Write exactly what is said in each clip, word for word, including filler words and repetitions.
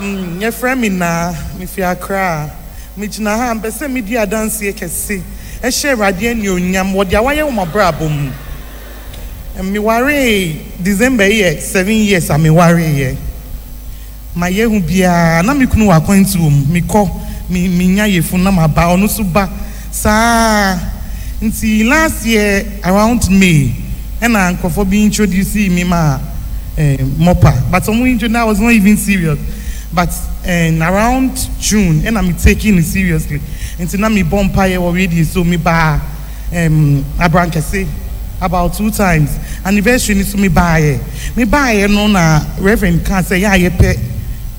Mm, yɛfrɛ me Naa, mefi Accra. Megyina ha, mpɛ sɛ medi adanseɛ kɛse ɛhyɛ Awurade anuonyam wɔ deɛ wayɛ wɔ m'abrabɔ mu. Mewaree December yi yɛ seven years a mewareeɛ. Mayɛ ho biara na me kunu wɔ akwantuo mu. Mekɔ, me menya yefunu na maba, ɔno nso ba saa. Nti last year around May, ɛna nkurɔfoɔ bi introduce me ma eh, MOPA. But ɔmo introduce, I was not even serious. But eh, around June, ɛna me taking it seriously. Nti na me bɔ mpaeɛ wɔ radio so me ba um, Abrankɛse about two times. Anniversary ni so me baeɛ. Me baeɛ no na Reverend ka sɛ yɛ a yɛpɛ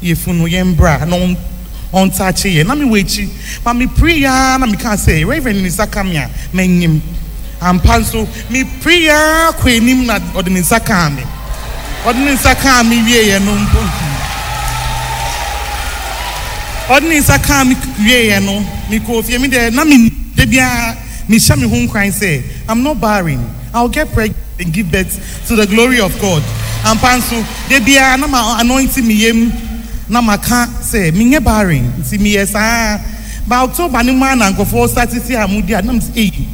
yefunu yɛn bra na ɔn ɔntaakye yɛ na me wɔ akyi ma me pray ya na me ka sɛ Reverend ne nsa ka me a mɛnyim ampa nso me pray ya kɔ anim na ɔde ne nsa kaa me ɔde ne nsa kaa me wieɛ no mpo ɔde ne nsa kaa me wieɛ no mekɔɔ fie me deɛ na me de biara mehyɛ me ho nkran sɛ I'm not barren I'll get pregnant and give birth to the glory of God ampa nso de biara na ma anointing me yam na maka sɛ menyɛ barren nti meyɛ saa ba October ne mu a na nkurɔfoɔ start si a mu di a na m sɛ eyi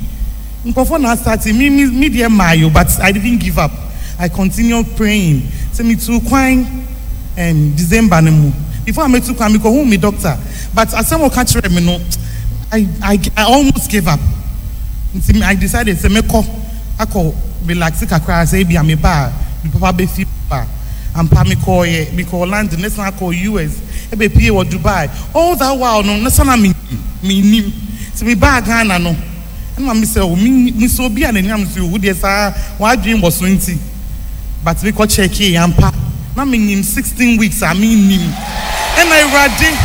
nkurɔfoɔ na start me me me deɛ maayo but I didn't give up I continued praying sɛ me tu kwan um, December no mu before I metu kwan mekɔhu me doctor but asɛm a ɔka kyerɛ me no I I I almost gave up nti I decided sɛ mɛkɔ akɔ relax kakra sɛ ebi a me ba a me papa bɛfi ba ampa mekɔɔyɛ mekɔɔ London ne san akɔ US ɛbɛpie wɔ Dubai all that while no ne sana me me nim sɛ me baa Ghana no ɛna me sɛ o me me sɛ obi a n'anim so o deɛ saa wadwin wɔ so nti but mekɔ check yɛ ampa na me nim sixteen weeks a me nim ɛna Awurade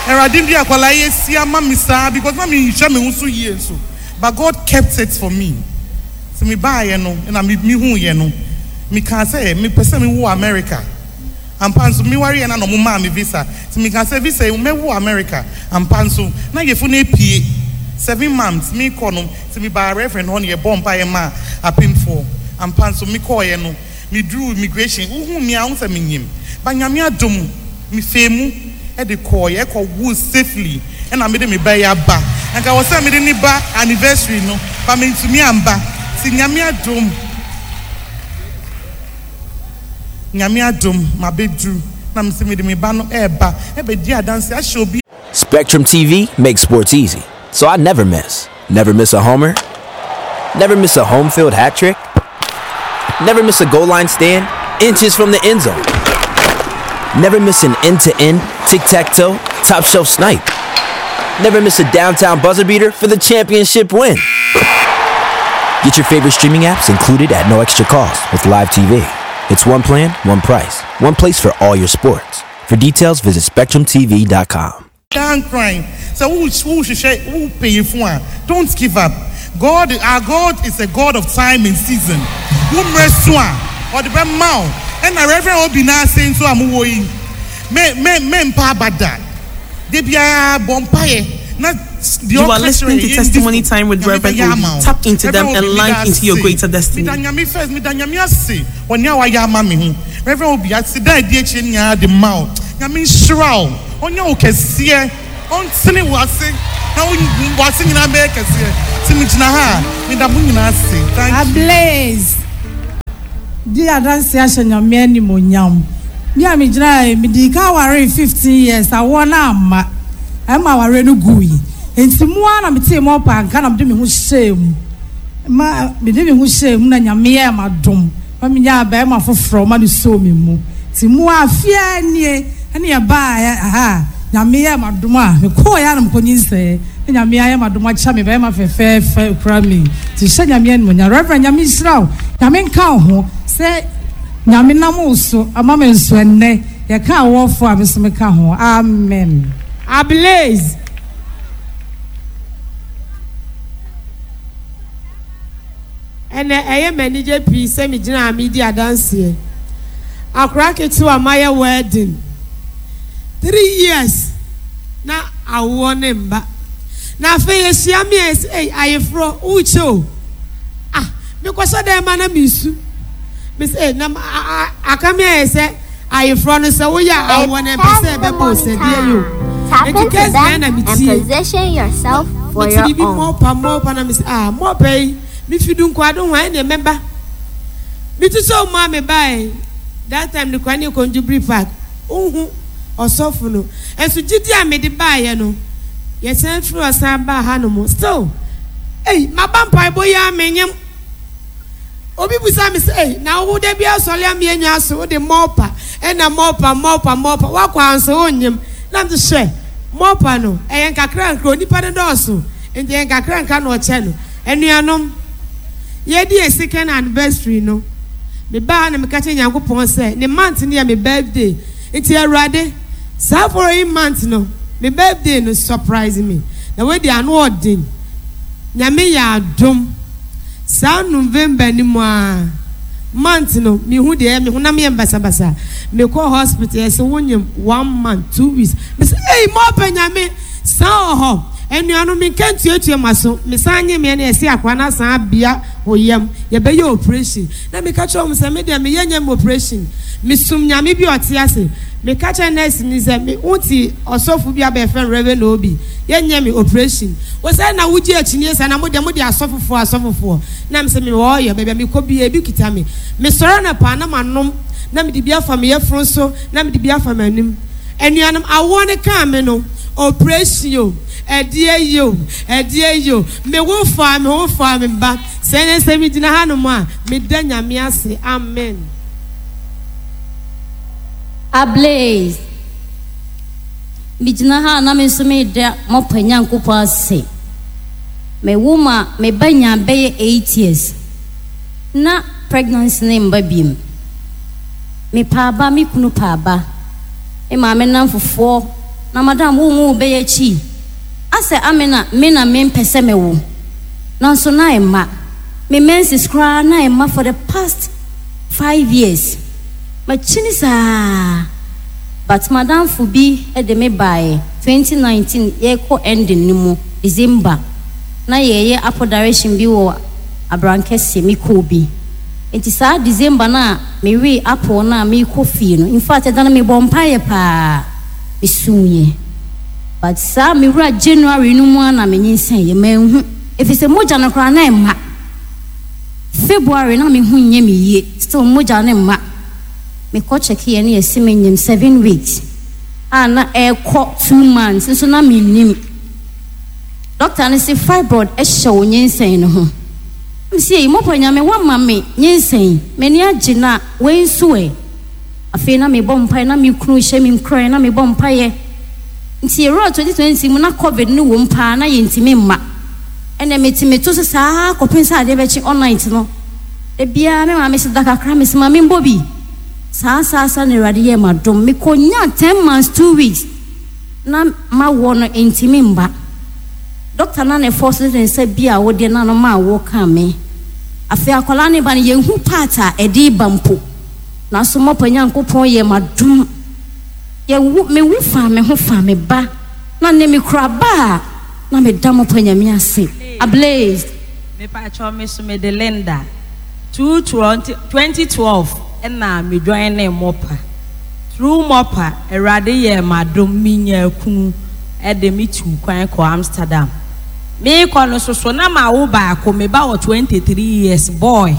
Awurade bi akwadaa yi esi ama me saa because na me nhwɛ me ho so yie nso but God kept it for me sɛ me baayɛ no ɛna me me hu yɛ no me kaa sɛ me pɛ sɛ me wo America ampa nso me ware yɛ na na ɔmo maa me visa nti me kaa sɛ visa yi mɛwo America ampa nso na yɛfo no epie seven months me kɔ no nti me baa reverend hɔ no yɛ bɔ mpa yɛ ma apemfoɔ ampa nso me kɔɔ yɛ no me duru immigration wohu mi a ho sɛ me nyim ba nyame adom me fee mu ɛde kɔɔ yɛ ɛkɔ wo safely ɛna me de me ba yi aba nka wɔ sɛ me de ne ba anniversary no ba me ntumi amba ti nyame adom nyame adom ma bɛduru na me sɛ me de me ba no ɛɛba ɛbɛdi adanse ahyɛ obi Spectrum TV makes sports easy, so I never miss. Never miss a homer. Never miss a home field hat trick. Never miss a goal line stand inches from the end zone. Never miss an end to end, tic tac toe, top shelf snipe. Never miss a downtown buzzer beater for the championship win. Get your favorite streaming apps included at no extra cost with Live TV. It's one plan, one price, one place for all your sports. For details, visit SpectrumTV.com. dan crying sɛ wo wo hwehwɛ wo pay fo a don't give up God our God is a God of time and season wo mmerɛ so a ɔde bɛ ma wo ɛna Reverend Obi n'ase nso a mo wɔ yi me me me mpa aba da de biara bɔ mpaeɛ na deɛ You are listening to Testimony Time with Reverend Obi. Tap into them and launch into your greater destiny. meda nyame first meda nyame ase wɔ nea wayɛ ama me ho Reverend Obi ase da adi akyire nyinaa de ma wo nyame nhyira wo ɔnyɛ wo kɛseɛ ɔntene wo ase na wo wo ase nyinaa bɛyɛ kɛseɛ nti megyina ha a meda mo nyinaa ase thank you Ablaze. Di adanse ahyɛ nyame animonyam. Mi a megyina ha yi, mede ka aware fifteen years awoɔ na amma. Ɛma aware no gu yi. Nti mu ara na metee mu ɔpa nka na mede me ho hyɛɛ mu. Ma mede me ho hyɛɛ mu na nyame yɛɛ m'adom. Ma menya bɛrima foforɔ ma no soo me mu. Nti mu a fie nie ɛne yɛbaa aha nyame yɛɛ m'adom a mekɔɔ yɛ a na mekɔnyinsɛɛ. Na nyame ayɛ m'adom akyɛ me bɛrima fɛfɛɛfɛ kura me. Nti hyɛ nyame animonyam. Reverend nyame nhyira wo. Nyame nka wo ho sɛ nyame nam wo so ama me nso ɛnnɛ yɛka awɔfo a me nso meka ho. Amen. Ablaze. ɛnɛ ɛyɛ m'anigye pii sɛ megyina a medi adanseɛ akora ketewa mayɛ wedding three years na awoɔ ne mba na afei yɛhyia me a yɛsɛ ei ayeforɔ wokyɛ o ah mekɔhyɛ dɛn ma na mesu mesɛ na aka me ayɛ sɛ Ayeforɔ no sɛ woyɛ a awoɔ no ɛmpɛ sɛ Tap the ɛbɛbɔ wo sɛ deɛ yi o. morning time. Tap Enti into case them na na and metie. position yourself for Mete your biribi own. mɔpa mɔpa na mese ah mɔpa yi mefi du nkwado ho a ɛneɛ mɛba. Metu sɛ ɔmo a mebae that time no kora ne yɛkɔ Jubilee Park wohu ɔsɔfo no ɛnso gyidi a mede baeɛ no yɛsan firi ɔsan baa hanom still ei maba mpaebɔ yi a menyem. Obi busa me sɛ ei na wo da bi asɔre ama yɛnya aso wode mɔpa ɛna mɔpa mɔpa mɔpa woakɔ anso wonyem na mete hwɛ mɔpa no ɛyɛ nkakra nkra onipa no dɔɔso nti ɛyɛ nkakra nkra na ɔkyɛ no. Anuanom, yɛdi yɛ second anniversary no mebaa na meka kyerɛ Nyankopɔn sɛ ne month no yɛ me birthday nti Awurade saa following month no me birthday no surprise me na wadi ano ɔden. Nyame yɛ adom saa November ni mu a month no mehu deɛ me honam yɛ mbasabasa mekɔ hospital yɛsɛ wonyim one month two weeks mesɛ ei mɔpɛ Nyame saa wɔ hɔ. Anuanom menka ntuatua ma so mesan nye meɛ no yɛsɛ akora no asan abea wo yam yɛbɛyɛ operation na meka kyerɛ wɔn sɛ me deɛ meyɛ nyɛ operation mesum Nyame bi ɔte ase. Meka kyerɛ nurse ni sɛ me wonti ɔsɔfo bi abɛfrɛ Reverend Obi yɛnyɛ me operation wɔ sɛ na wogye akyinie sɛ na mo deɛ mo de asɔfofoɔ asɔfofoɔ na mesɛ me wɔ ɔyɛ baabi a mekɔ bi ebi kita me mesɔre na paa na manom na mede bi afa me yɛforo so na mede bi afa m'anim. Anuanom awoɔ ne kaa me no operation o ɛdeɛ yi o ɛdeɛ yi o me wo fa me ho fa me ba sɛ ne sɛ me gyina hanom a meda Nyame ase. Amen. Ablaze. Megyina ha na me nso meda mɔpa Nyankopɔn ase. Me wo ma me ba nya bɛyɛ eight years. Na pregnancy ne mba biem. Me paaba me kunu paaba. Me maame nam fofoɔ na madam wo wo bɛyɛ akyi. Asɛ amena me na me mpɛ sɛ me wo. Nanso na ɛma. Me menses koraa na ɛma for the past five years. Makyini saa. But madamfo bi de me baeɛ twenty nineteen yɛkɔ ending no mu December na yɛyɛ apple direction bi wɔ Abrankɛse mekɔɔ bi. Nti saa December na mewe apple na mekɔ fie no in fact ɛda no mebɔ mpaeɛ paa mesuiɛ. But saa mewura January no mu a na menyinsɛn yɛ manhu ɛfiri sɛ mogya no koraa na ɛmma. February na mehu nyɛ me yie still mogya no mma. Mekɔ check yɛ ne yɛsi menyim seven weeks a na ɛkɔ two months nso na mennim. Doctor no se fibroid ɛhyɛ wo nyinsɛn no ho. Msi yi mɔpɔ Nyame wama me nyinsɛn m'ani agye na wei nso ɛ. Afei na mebɔ mpaeɛ na me kunu hyɛ me nkuran na mebɔ mpaeɛ. Nti yɛwura twenty twenty mu na COVID no wɔ mu paa na yɛntumi mma. Ɛnna metumi to so saa kɔpem sɛ adeɛ bɛkye all night no. Ebiara me maame sɛ da kakra me sɛ maame mbɔ bi. Saa saa saa na Awurade yɛ ma dom. Mekɔnya ten months two weeks na mawɔ no ntumi mba. Doctor na ne force ne nsa bi a wode na no ma wo ka me. Afei akwadaa ne ba no yɛnhu part a ɛde ba mpo. Nanso mɔpa Nyankopɔn yɛ ma dom. Yɛwu mewu fa me ho fa me ba. Na ne me kura ba a na meda mɔpa Nyame ase. Ablaze. Mepa kyɛw me so me de Linda. two twenty twelve ɛna me join ne mɔpa. Through mɔpa Awurade yɛ madom minya kunu ɛde me tu kwan kɔ Amsterdam. Me kɔ no soso na ma wo baako me ba wɔ twenty-three years boy.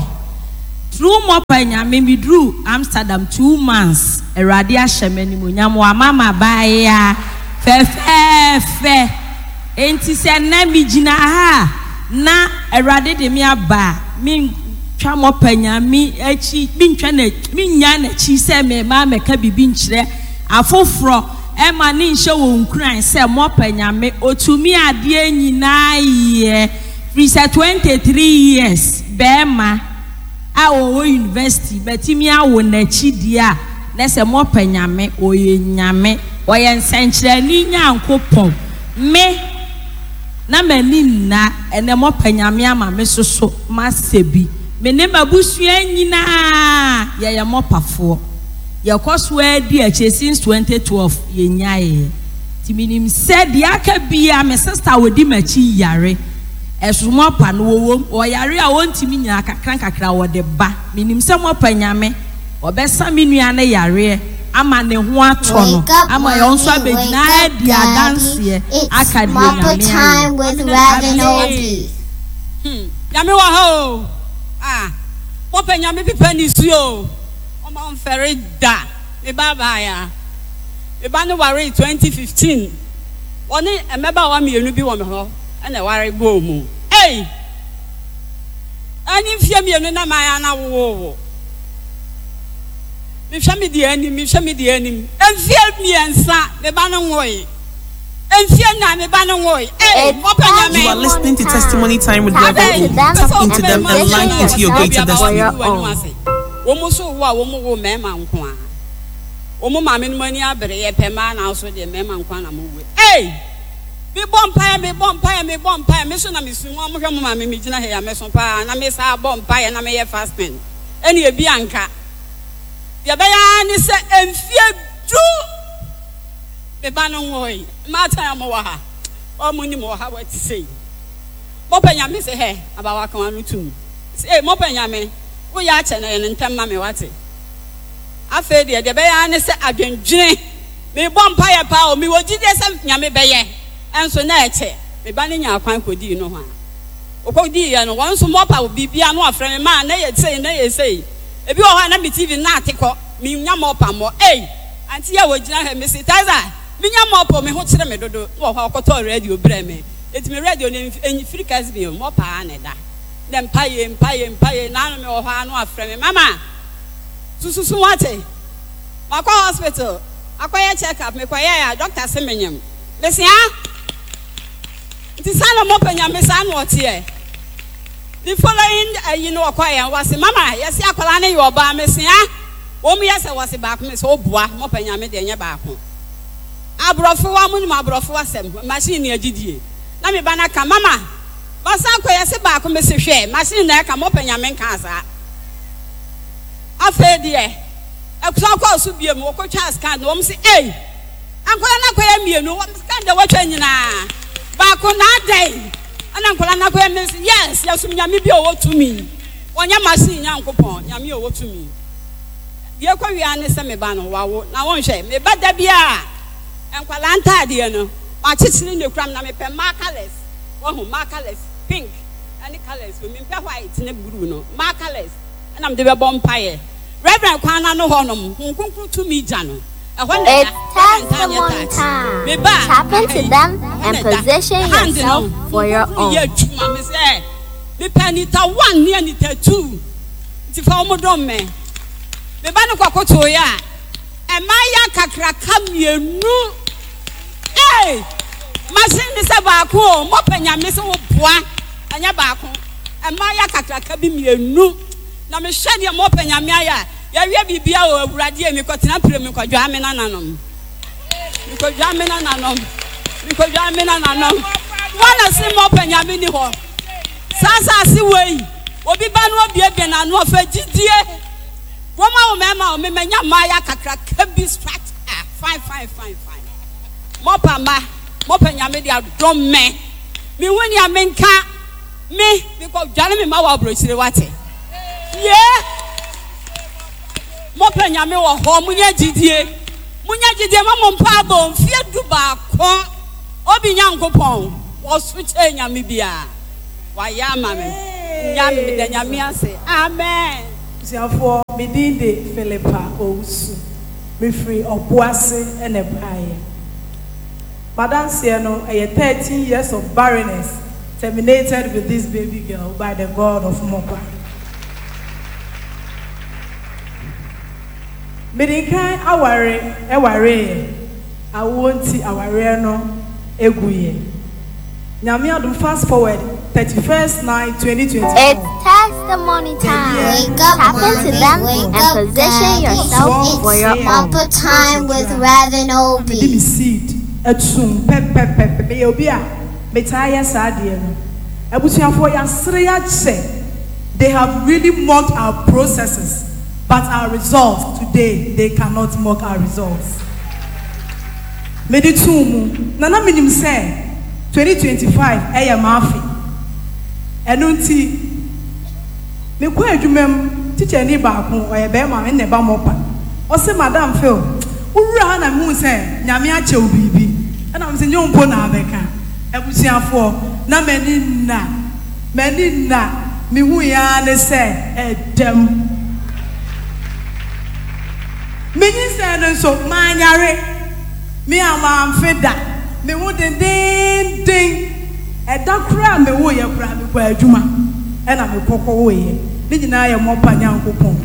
Through mɔpa Nyame me duru Amsterdam two months Awurade ahyɛ me animuonyam wa mama baaya fɛfɛɛfɛ. Enti sɛ na me gyina ha na Awurade de me aba me twa mɔpa Nyame akyi me ntwa na me nya n'akyi sɛ me ma mɛka bibi nkyerɛ afoforɔ ɛma ne nhyɛ wɔ nkuran sɛ mɔpa Nyame otumi adeɛ nyinaa yɛ firi sɛ twenty-three years bɛɛma a wɔwɔ university bɛtumi awo n'akyi deɛ a na sɛ mɔpa Nyame ɔyɛ Nyame ɔyɛ nsɛnkyerɛnne Nyankopɔn me na m'ani nna ɛnɛ mɔpa Nyame ama me soso masɛ bi me ne m'abusua nyinaa yɛyɛ mɔpafoɔ yɛkɔ so adi akyire since twenty twelve yɛnyaeɛ nti menim sɛ deɛ aka bia me sister wɔdi m'akyi yare ɛso mɔpa no wɔwɔ ɔyare a wɔntumi nyinaa kakra kakra wɔde ba menim sɛ mɔpa Nyame ɔbɛsa me nua ne yareɛ Ama ne ho atɔ no. Wake up, Ama yɛn nso mommy, wake abɛgyina up, adi daddy. adanseɛ It's aka deɛ Mappa Nyame time ayɛ. with Reverend Obi. Hmm. Nyame wɔ ha o. Ah. Mopɛ Nyame pepa ne su o. Ɔma mfɛre da. Me ba baaya. Me ba no ware twenty fifteen. Wɔne mmabaawa mmienu bi wɔ me hɔ ɛna ɛware bɔɔ mu. Ei! Ɛne mfie mmienu na maa na wowowo. Mehwɛ me deɛ anim, mehwɛ me deɛ anim. Mfie mmiɛnsa me ba no nwoe. Mfie nnan me ba no nwoe. Ei! It's Mopɛ Nyame. You are listening to Testimony Time with Tap Reverend into Obi. them Tap into and them and position launch into your yourself greater for destiny. your own. Wɔn nso wo a wɔn wo mmarima nko a wɔn maame no mu ani abere yɛ pɛ mmaa na nso deɛ mmarima nko a na mo we. Ei, mi bɔ mpaeɛ, mi bɔ mpaeɛ, mi bɔ mpaeɛ, mi so na mi sun wɔn hwɛ mo maame mi gyina ha ya mi so paa na mi sa bɔ mpaeɛ na mi yɛ fasting ɛna ebi anka deɛ bɛyɛ ara ne sɛ mfie du me ba no nwoe. Mmaatan a mo wɔ ha, wɔn mo nim wɔ ha wɔte sei. Mɔpɛ Nyame sɛ hɛ abawa kan ano tum sɛ ee, mɔpɛ Nyame woyɛ akyɛ na yɛ ne ntɛm ma me wate. Afei deɛ deɛ bɛyɛ ara ne sɛ adwendwene mebɔ mpaeɛ paa o, mewɔ gyidie sɛ Nyame bɛyɛ, ɛnso na ɛkyɛ. Me ba no nya akwan kɔdii no ho a ɔkɔdiiɛ no, wɔn nso mɔpa biribia no afrɛ me maa na yɛ sei na yɛ sei. Ebi wɔ hɔ a na me T V na ate kɔ menya mɔpa mmɔ. Ei, auntie a wɔgyina ha, mesi Taza menya mɔpa, me ho kyerɛ me dodo wɔ hɔ a ɔkɔtɔɔ radio brɛ me, eti me radio no mfiri kɛse bi mɔpa a na ɛda na mpaye mpaye mpaye naanu mi wɔ hɔ a no afrɛ me, "Mama, sususu wate, makɔ hospital akɔyɛ check up, mekɔyɛ a doctor se menyam." Mesia nti saa na mɔpɛ Nyame saa na ɔteɛ. The following ayi no ɔkɔ yɛn wɔsi, "Mama, yɛsi akwadaa no yɛ ɔbaa." Mesia wɔn mu yɛ sɛ wɔsi baako. Mi sɛ ɔboa, mɔpɛ Nyame deɛ nyɛ baako. Aborɔfo wa mo nim aborɔfo asɛm, machine ni agyidie na mi ba na ka, "Mama, masan kɔ, yɛsi baako." Mi si hwɛ machine na ɛka mɔpɛ Nyame nka saa. Afei deɛ ɛkusa kɔɔ so bie mu, wɔkɔtwa scan na wɔn si, ei, nkwadaa no akɔyɛ mmienu. Wɔn scan deɛ wɔtwa nyinaa baako na adan ɛna nkwadaa no akɔyɛ mmienu. Yes, yɛsum Nyame bi a ɔwɔ tumi, wɔnyɛ machine Nyankopɔn, Nyame a ɔwɔ tumi. Deɛ kɔ wia ne sɛ me ba no wawo na wɔnhwɛ me ba da bi a nkwadaa ntaadeɛ no makyekyere ne kuram na mepɛ mmaa colours, wɔho mmaa colours, pink ɛne colours o, mempɛ white ne blue no, mmaa colours ɛna mede bɛbɔ mpaeɛ. Reverend kwan n'ano hɔnom Honhom Kronkron tumi gya no ɛhɔ na It's testimony time. Tap into them and position yourself for your own. Yɛ adwuma me sɛ mepɛ anita one ne anita two nti fa wɔn dɔm me. Me ba no kɔkoto yɛ a mmaayɛ kakraka mmienu. Ee, machine ne sɛ baako o, mɔpɛ Nyame sɛ woboa ɛnyɛ baako, mmaayɛ kakraka bi mmienu na mehwɛ deɛ mɔpɛ Nyame ayɛ a yɛwie biribia o. Awurade, mekɔtena pere, mekɔdwaa me nananom, mekɔdwaa me nananom, mekɔdwaa me nananom. Wɔna se mɔpɛ Nyame ni hɔ saa asase wei obi ba no obiebie n'ano ɔfɛ gyidie wɔn a wɔn mmarima wɔn mmɛnya mmaayɛ kakraka bi structure fine fine fine fine. Mɔpa ma mɔpɛ Nyame de adɔm mɛ mihu nea menka me mekɔ dwane me ma wɔ aburokyire wate ye. Mɔpɛ Nyame wɔ hɔ, munya gyidie, munya gyidie ma mo mpa abɔ mfie du baako obi Nyankopɔn wɔso kyɛ Nyame biara wayɛ ama me Nyame, meda Nyame ase, amen. Abusuafoɔ, me din de Philippa Owusu, mefiri Ɔboase ɛna ɛbaeɛ. Madanseɛ no ɛyɛ thirteen years of barrenness terminated with this baby girl by the God of Mopa. Mede nkan aware ɛwareeɛ, awoɔ nti awareɛ no eguyɛ. Nyame adom, fast forward thirty first nine twenty twenty It's four. testimony time. Wake up, Tap into them and position yourself for your own. Mappa time with Reverend mede me Obi. Seed atum pɛpɛpɛpɛ. Meyɛ obi a metaa yɛ saa adeɛ no. Abusuafoɔ, yɛasere yɛakyɛ. They have really mocked our processes, but our results today, they cannot mock our results. Mede tum mu na na menim sɛ twenty twenty-five ɛyɛ maafe. Ɛno nti mekɔ adwuma mu, tikyani baako, ɔyɛ bɛrima, ɛna ɛba mɔpa, ɔsɛ, "Madam Phil." Wowura ha na mehu sɛ Nyame akyɛ wo biribi. Ɛna mese nyɛ wo mpo na abɛka. Abusuafoɔ, na m'ani nna. M'ani nna. Mehui ara ne sɛ ɛdam. Me nyinsɛn no nso, manyare. Me a mamfe da. Me ho dendeenden. Ɛda koraa a mewoeɛ koraa, mekɔɔ adwuma ɛna mekɔ kɔwoeɛ. Ne nyinaa yɛ mɔpa Nyankopɔn.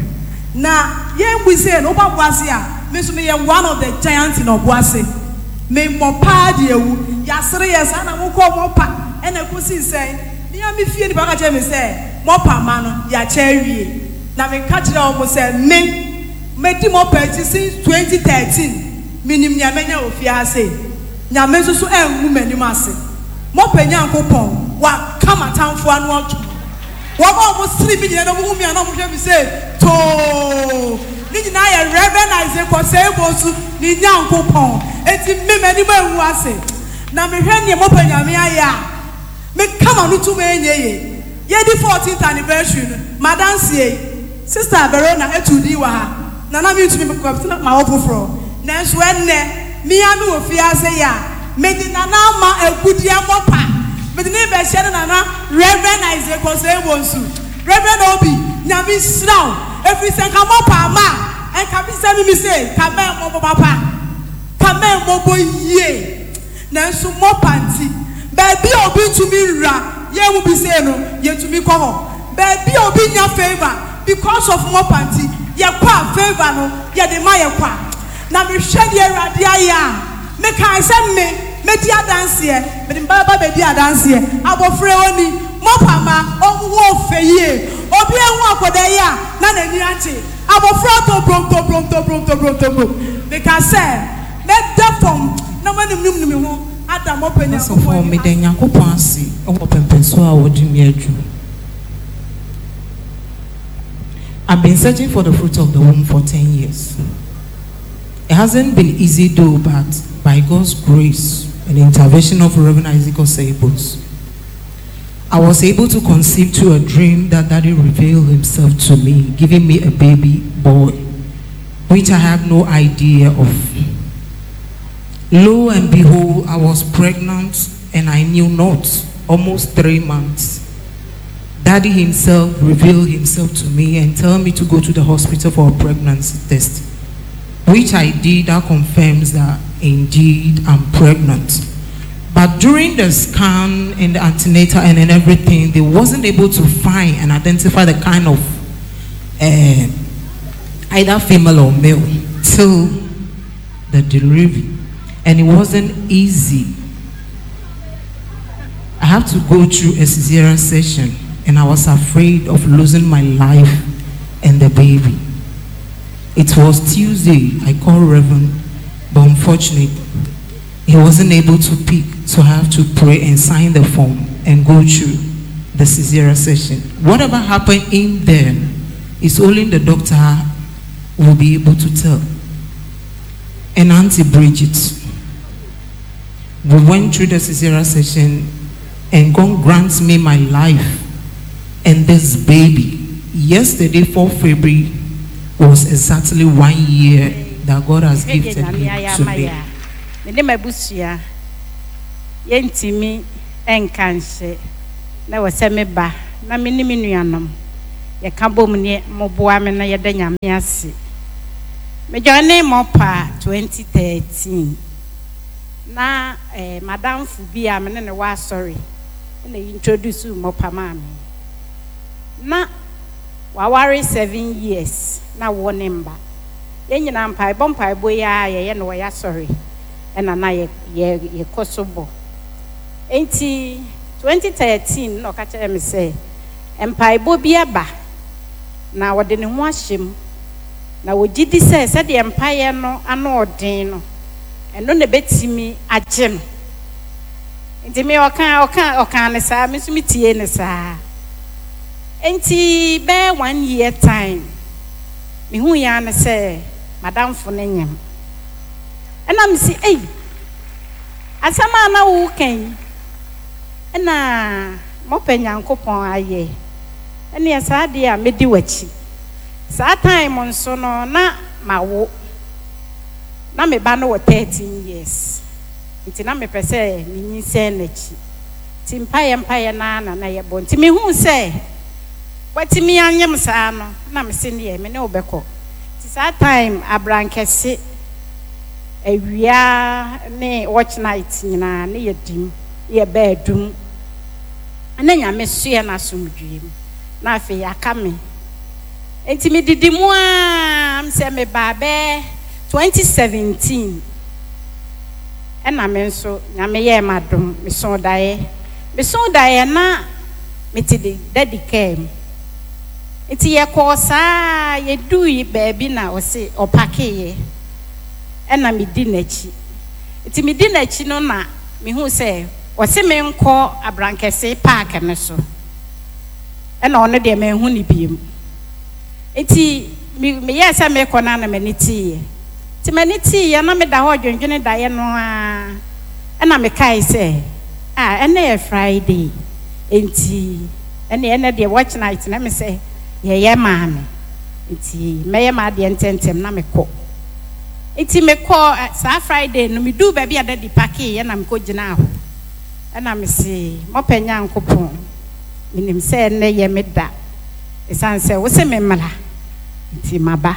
Na yɛn bu sei no, woba Boase a, me nso meyɛ one of the giants in Ɔboase. Me mmɔ paa de awu. Yɛasere yɛ saa na mokɔɔ mɔpa ɛna ɛkɔsii sɛn? Me ara me fie nipa ka kyerɛɛ me sɛ mɔpa mma no, yɛakyɛ awie. Na meka kyerɛɛ wɔn sɛ me, madi mɔpa akyi since twenty thirteen, menim nea manya wɔ fie ha sei. Nyame nso so angu m'anim ase. Mɔpa Nyankopɔn, waka m'atamfo ano atom. Wɔn a wɔsere me nyinaa na wɔhu me a na wɔhwɛ me sei too. Ne nyinaa yɛ Rev. Isaac Osei Bonsu ne Nyankopɔn. Enti me, m'anim angu ase. Na mehwɛ nea mɔpa Nyame ayɛ a, meka m'ano tom ɛnyɛ yie. Yɛredi fourteenth anniversary no, m'adanseɛ yi, Sister Verona tuu din wɔ ha, na na mentumi mekɔ na mawɔ foforɔ. Nanso ɛnnɛ, me ara mewɔ fie ha sei a, mede Nana ama agudeɛ mɔpa. Mede no rebɛhyɛ ne nana Rev. Isaac Osei Bonsu. Rev. Obi, Nyame nhyira wo, ɛfiri sɛ nka mɔpa ama a, nka me sɛ me me sei, nka mɛmmɔbɔ papa, nka mɛmmɔbɔ yie. Nanso mɔpa nti, baabi a obi ntumi nwura, yɛn mu bi sei no, yɛtumi kɔ hɔ. Baabi a obi nnya favour, because of mɔpa nti, yɛkɔ a favour no, yɛde ma yɛ kwa. Na mehwɛ deɛ Awurade ayɛ a, mekae sɛ me, mɛdi adanseɛ, mede me ba bɛba abɛdi adanseɛ. Abɔfra yi ɔni mɔpa mma, ɔho wɔ fɛ yie. Obi ahu akwadaa yi a, na n'ani agye. Abɔfra tobrom tobrom tobrom tobrom tobrom. Meka sɛ mɛda fam na manunum me ho ada mɔpa Nyankopɔn Asɔfoɔ, anim meda ase. Nyankopɔn ase wɔ pɛmpɛnsoɔ a ɔde me aduru. I've been searching for the fruit of the womb for ten years. It hasn't been easy though, but by God's grace and the intervention of Reverend Isaac Osei Bonsu, I was able to conceive to a dream that Daddy revealed himself to me, giving me a baby boy, which I have no idea of. Lo and behold, I was pregnant and I knew not, almost three months. Daddy himself revealed himself to me and told me to go to the hospital for a pregnancy test, which I did. That confirms that indeed I'm pregnant. But during the scan and the antenatal and, and everything, they wasn't able to find and identify the kind of uh, either female or male till the delivery. And it wasn't easy. I have to go through a cesarean session, and I was afraid of losing my life and the baby. It was Tuesday. I called Reverend, but unfortunately, he wasn't able to pick, so I have to pray and sign the form and go through the cesarean session. Whatever happened in there is only the doctor will be able to tell. And Auntie Bridget, we went through the cesarean session, and God grants me my life and this baby. Yesterday, fourth February, was exactly one year that God has gifted him to me. Me ne m'abusua yɛntumi nka nhyɛ na wɔ sɛ meba na me ne me nuanom yɛka bom ne moboa me na yɛda Nyame ase. Mejoine mɔpa twenty thirteen na eh, madamfo bi a me ne ne wɔ asɔre na introduce mɔpa maa me. Na waware seven years na wɔ ne mba. Yɛn nyinaa mpaebɔ mpaebɔ yi a yɛyɛ no wɔyɛ asɔre ɛna na yɛ yɛ yɛkɔ so bɔ. Enti twenty thirteen na ɔka kyerɛ me sɛ mpaebɔ bi aba na wɔde ne ho ahyɛ mu na wɔgye di sɛ sɛdeɛ mpaeɛ no ano ɔden no ɛno na ebɛtumi agye no. Nti me ɔka ɔka ɔka ne saa, me nso me tie ne saa. Enti bɛyɛ one year time mehu ya ne sɛ madamfo ne nyam. Ɛna me si ei, asɛm a na woka yi ɛna mɔpɛ Nyankopɔn ayɛ ɛneɛ saa adeɛ a medi w'akyi. Saa time nso no na mawo. Na me ba no wɔ thirteen years. Nti na mepɛ sɛ menyinsɛn n'akyi. Nti mpaeɛ mpaeɛ naa na na yɛbɔ. Nti mehuu sɛ watumi anyem saa no, na mese neɛ me ne wo bɛkɔ. Nti saa time abrankɛse awia ne watch night nyinaa ne yɛdim, ne yɛbaa adum. Na Nyame soɛ n'asomdwie mu. Na afei aka me. Nti medidi mu a sɛ mebaa bɛɛ twenty seventeen ɛna me nso Nyame yɛɛ m'adom, mesoo daeɛ. Mesoo daeɛ na mete de daddy kaa mu. Nti yɛkɔɔ saa yɛdui baabi na ɔse ɔpakeeɛ ɛna medi n'akyi. Nti medi n'akyi no na mehu sɛ ɔse menkɔ Abrankɛse park no so. Ɛna ɔno deɛ manhu ne biem. Nti meyɛɛ sɛ mekɔ no na m'ani teeɛ. Nti m'ani teeɛ na meda hɔ dwendwene daeɛ no a ɛna mekae sɛ ah ɛnɛ yɛ Friday. Nti ɛne ɛnɛ deɛ watch night na me sɛ yɛyɛ maame. Nti mɛyɛ m'adeɛ ntɛntɛm na mekɔ. Nti mekɔ saa Friday no meduu baabi a daddy pakeeɛ na mekɔ gyinaa hɔ. Ɛna mese mɔpɛ Nyankopɔn menim sɛ ɛnɛ yɛ me da. Ɛsiane sɛ wo se me mmra nti maba.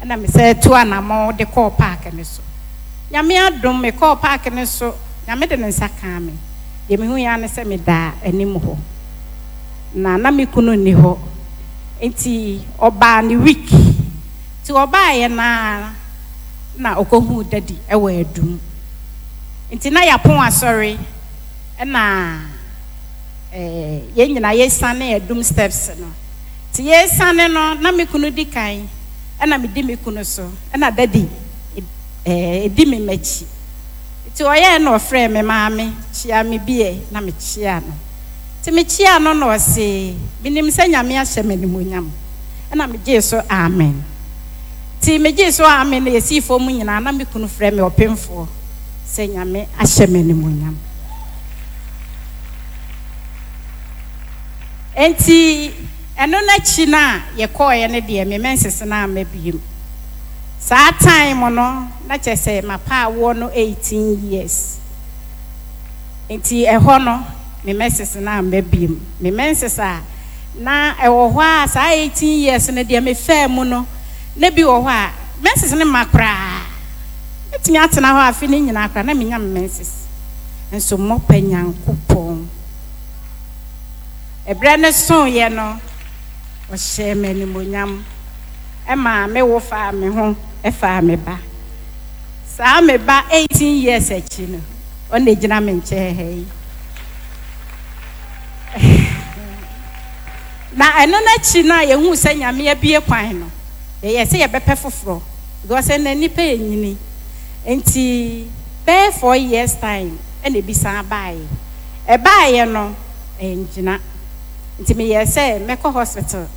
Ɛna mesɛ tu anammɔn de kɔɔ park no so. Nyame adom mekɔɔ park no so, Nyame de ne nsa kaa me. Deɛ mehu ya ne sɛ meda anim hɔ. Na na me kunu nni hɔ. Nti ɔbaa ne week. Nti ɔbaeɛ na na ɔkɔhuu daddy ɛwɔ adum. Nti na yɛapɔn asɔre ɛna eh, yɛn nyinaa yɛsiane adum steps no. Nti yɛsiane no na me kunu di kan ɛna medi me kunu so ɛna daddy eh, ɛdi me m'akyi. Nti ɔyɛɛ na ɔfrɛɛ me maame kyia me bie na mekyia no. Nti mekyia no na ɔse menim sɛ Nyame ahyɛ me animuonyam. Ɛna megyee so amen. Nti megyee so amen na yɛsii fam nyinaa na me kunu frɛ me ɔpemfoɔ sɛ Nyame ahyɛ me animuonyam. Nti ɛno n'akyi no a yɛkɔɔeɛ no deɛ me menses no amma biem. Saa time no na kyerɛ sɛ mapa awoɔ no eighteen years. Nti ɛhɔ no me menses no amma biem. Me menses a na ɛwɔ hɔ a saa eighteen years no deɛ mefaa mu no na bi wɔ hɔ a menses no ma koraa. Metumi atena hɔ afe ne nyinaa koraa na menya me menses. Nso mɔpɛ Nyankopɔn. Ɛberɛ no soeɛ no ɔhyɛɛ me animuonyam. Ɛma me wo faa me ho ɛfaa me ba. Saa me ba eighteen years akyi no ɔna gyina me nkyɛn ha yi. Na ɛno n'akyi no a yɛhuu sɛ Nyame abue kwan no yɛyɛ sɛ yɛbɛpɛ foforɔ because ɛnɛ nnipa yɛ nyini. Nti bɛyɛ four years time ɛna ebi san baeɛ. Ɛbaeɛ no ɛngyina. Nti meyɛɛ sɛ mɛkɔ hospital.